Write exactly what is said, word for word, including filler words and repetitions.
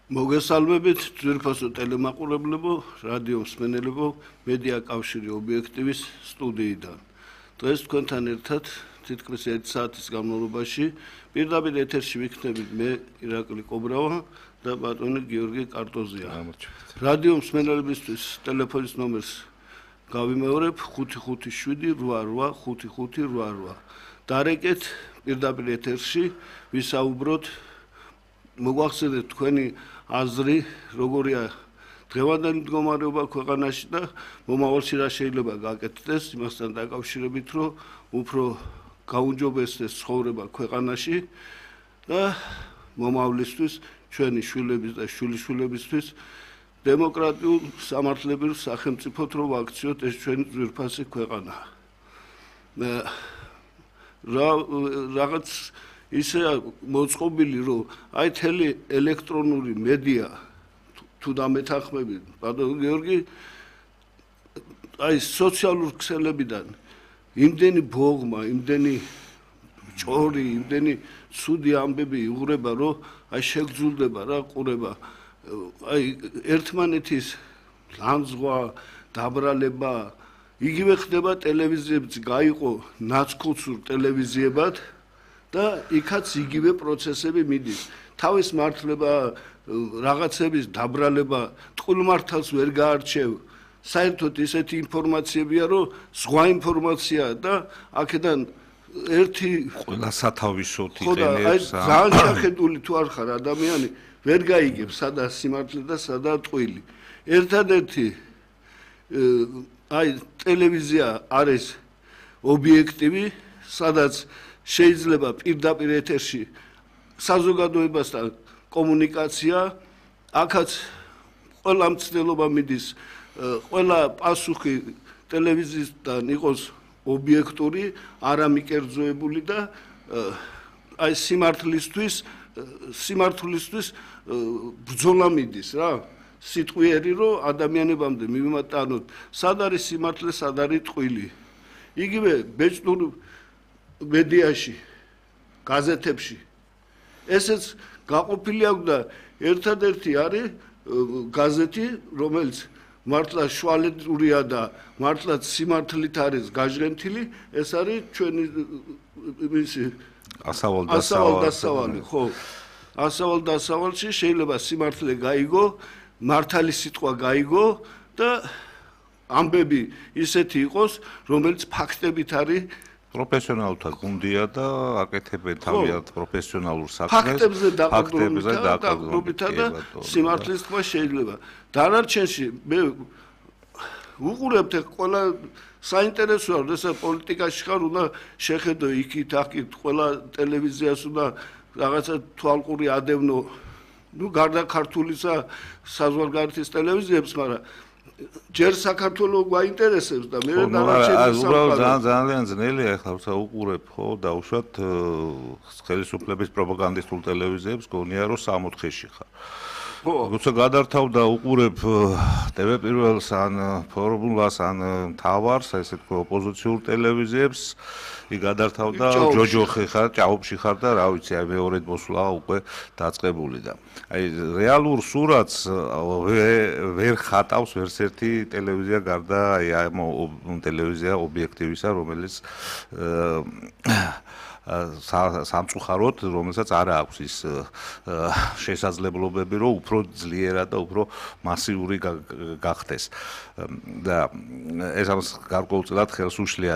მოგესალმებით ძვირფასო ტელემაყურებლებო, რადიო მსმენელებო, მედია კავშირი ობიექტივის სტუდიიდან. დღეს თქვენთან ერთად თითქმის ერთი საათის განმავლობაში პირდაპირ ეთერში ვიქნებით მე ირაკლი კობრავა და ბატონი გიორგი კარტოზია. რადიო მსმენელებისთვის ტელეფონის ნომერს გავიმეორებ ხუთი ხუთი შვიდი რვა რვა ხუთი ხუთი რვა რვა. დარეკეთ პირდაპირ ეთერში ვისაუბროთ მოგვახსენეთ თქვენი აზრი როგორია დღევანდელი მდგომარეობა ქვეყანაში და მომავალში რა შეიძლება გაკეთდეს იმასთან დაკავშირებით რომ უფრო გაუმჯობესდეს ცხოვრება ქვეყანაში და მომავლისთვის ჩვენი შვილების და შვილიშვილებისთვის დემოკრატიულ სამართლებრივ სახელმწიფოდ რომ ვაქციოთ ეს ჩვენი ძვირფასი ქვეყანა. რა რაღაც ისე მოწყობილი რომ აი თელი ელექტრონული მედია თუ დამეთანხმებით ბატონო გიორგი აი სოციალურ ქსელებიდან იმდენი ბოღმა, იმდენი ჭორი, იმდენი ცუდი ამბები იღვრება რომ აი შეგძულდება რა ყურება აი ერთმანეთის ლანძღვა, დაბრალება იგივე ხდება ტელევიზიებიც გაიყო ნაცკუცურ ტელევიზიებად და იქაც იგივე პროცესები მიდის. თავის მართლება, რაღაცების დაბრალება, ტყუილმართალს ვერ გაარჩევ. საერთოდ ისეთი ინფორმაციებია, რომ სხვა ინფორმაციაა და აქედან ერთი ყველა სათავისოთ იყენებს. ძალიან შეხედული თუ არ ხარ ადამიანი, ვერ გაიგებ სადაა სიმართლე და სადაა ტყუილი. ერთადერთი აი ტელევიზია არის ობიექტივი, სადაც შეიძლება პირდაპირ ეთერში საზოგადოებასთან კომუნიკაცია, აქაც ყველა მცდელობა მიდის, ყველა პასუხი ტელევიზიისგან იყოს ობიექტური, არამიკერძოებული და აი სიმართლისთვის, სიმართლისთვის ბრძოლა მიდის რა. სიტყვიერი რომ ადამიანებამდე მივიმატანოთ, სად არის სიმართლე, სად არის ტყუილი. იგივე ბეჭდურ მედიაში, გაზეთებში. ესეც გაყოფილი აქვს და ერთადერთი არის გაზეთი, რომელიც მართლა შვალედურია და მართლა სიმართლით არის გაჟღენთილი, ეს არის ჩვენი მისი ასავალ-დასავალი, ხო. ასავალ-დასავალში შეიძლება სიმართლე გაიგო, მართალი სიტყვა გაიგო და ამბები ისეთი იყოს, რომელიც ფაქტებით არის პროფესიონალთა გუნდია და აკეთებენ თავიანთ პროფესიონალურ საქმეს. ფაქტებზე დაყრდნობითა და სიმართლის თქვა შეიძლება. დანარჩენში მე უყურებთ ყველა საინტერესოა, როდესაც პოლიტიკაში ხარ, უნდა შეხედო იქით, აქით, ყველა ტელევიზიას უნდა რაღაცა თვალყური ადევნო. ნუ გარდა ქართულისა საზღვარგარეთის ტელევიზიებს, მაგრამ ჯერ საქართველოს გვაინტერესებს და მე დანარჩენი ძალიან ძალიან ძნელია ახლა როცა უყურებ ხო და უშუალოდ ხელისუფლების პროპაგანდისტულ ტელევიზიებს გონია რომ სამოთხეში ხარ. როცა გადართავ და უყურებ ტევ პირველს ან ფორმულას ან მთავარს, ესე თქო ოპოზიციურ ტელევიზიებს, იქ გადართავ და ჯოჯოხი ხარ, ჭაობში ხარ და რა ვიცი, აი მეორედ მოსვლა უკვე დაწყებული და აი რეალურ სურათს ვერ ხატავს ვერც ერთი ტელევიზია გარდა აი ამ ტელევიზია ობიექტივისა, რომელიც სამწუხაროდ, რომელსაც არ აქვს ის შესაძლებლობები, რომ უფრო ძლიერად და უფრო მასიური გახდეს. და ეს ამას გარკვეულწილად ხელს უშლია